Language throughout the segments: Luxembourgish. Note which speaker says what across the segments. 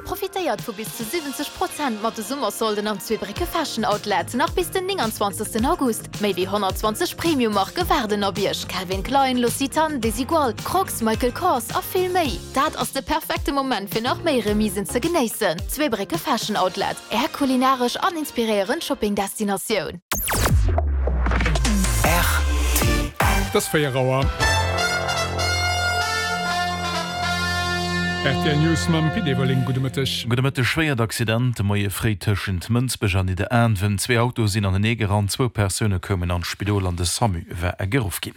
Speaker 1: Profitéiert vu bis zu 70 Prozent mat de Summersolden am Zweebrécke Fashion Outlet nach bis den 29 August. Méi wéi 120 Premium-Marke waarden op Iech, Calvin Klein, L'Occitane, Desigual, Crocs, Michael Kors a vill méi. Dat ass de perfekte Moment fir nach méi Remisen ze genéissen. Zweebrécke Fashion Outlet, Är kulinaresch an inspiréierend Shopping-Destinatioun.
Speaker 2: Et ass 4 Auer. Rtl News mam Pit Everling. Gudde Mëtteg.
Speaker 3: Gudde Mëtteg. Schwéiert Accident de Moie fréi tëschent Mënsbech an Nidderaanwen. Zwee Autoe sinn anenee gerannt, zwou Persoune koumen an d'Spidol an de Samu war geruff ginn.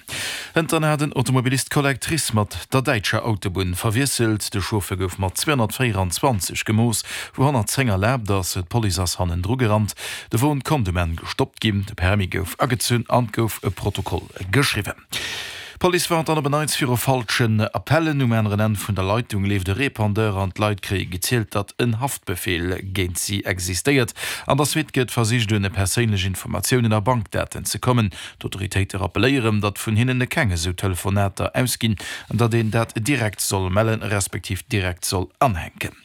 Speaker 3: Hënt hat en Automobilist d'Collectrice mat der däitscher Autobunn verwiesselt. De Chauffeur gouf mat 224 gemooss, wou 110 erlaabt ass. D'Police ass hannendru gerannt. De Won konnt um Enn gestoppt ginn, de Permis gouf agezunn an gouf e Protokoll geschriwwen. D'Police warnt dann op en Neits viru falschen Appellen. Um aneren Enn vun der Leitung leeft e Repondeur an d'Leit kréie gezielt, datt en Haftbefeel géint si existéiert. An der Suite gëtt versicht un perséinlech Informatiounen a Bankdaten ze kommen. D'Autoritéite rappeléieren, datt vun hinnen keng esou Telefonater ausginn an datt een dat direkt soll mellen, respektiv direkt soll anhänken.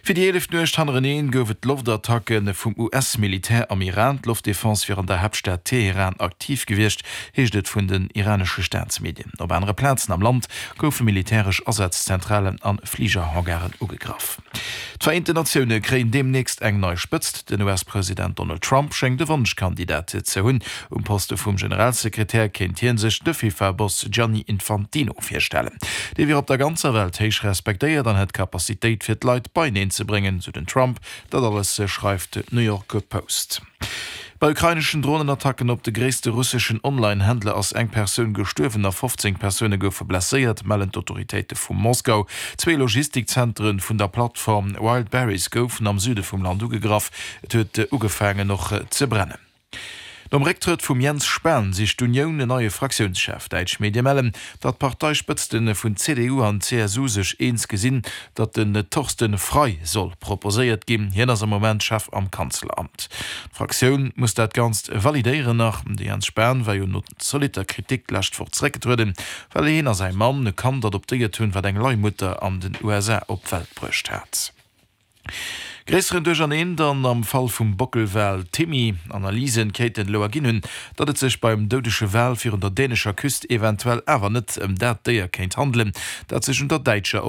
Speaker 3: Fir déi eeleft Nuecht hannereneen gouf et Loftattacke vum US-Militär am Iran. D'Loftdefense wier an der Haaptstad Teheran aktiv gewiescht, heescht et vun den iranesche Staatsmedien. Op anere Plazen am Land goufe militäresch Asazzentralen a Fligerhangaren ugegraff. D'Vereenten Natioune kréien deemnächst eng nei Spëtzt. Den US-President Donald Trump schéngt e Wonschkandidat ze hunn. Um Poste vum Generalsekretär kéint hie sech de FIFA-Boss Gianni Infantino virstellen. Dee wier op der ganzer Welt héich respektéiert an hätt d'Capacitéit fir d'Leit beieneen ze bréngen, sou den Trump. Dat alles schreift d'New York Post. Bei ukraineschen Dronenattacken op de gréisste russeschen Online-Händler ass eng Persoun gestuerwen a 15 Persoune goufe blesséiert, mellen d'Autoritéite vu Moskau. Zwee Logistikzentere vun der Plattform Wildberries goufen am Süde vum Land ugegraff. Et huet ugefaangen och ze brennen. Nom Récktrëtt vum Jens Spahn sicht d'Unioun en neie Fraktiounschef. Däitsch Medie mellen, datt d'Parteispëtzte vun CDU an CSU sech eens gesinn, datt den Thorsten Frei soll proposéiert ginn. Hien ass am Moment Chef am Kanzleramt. D'Fraktioun muss dat Ganzt validéieren nach. De Jens Spahn war jo no zolitter Kritik d'lescht Woch zeréckgetrueden, well hien a säi Mann e Kand adoptéiert hunn, wat eng Leihmutter an den USA op d'Welt bruecht hat. Gréisseren Duercherneen dann am Fall vum Bockelwal Timmy. Analysen kéinten elo erginn hunn, datt et sech beim doudege Wal virun der dänescher Küst eventuell awer net ëm dat Déier kéint handelen, dat sech un der däitscher.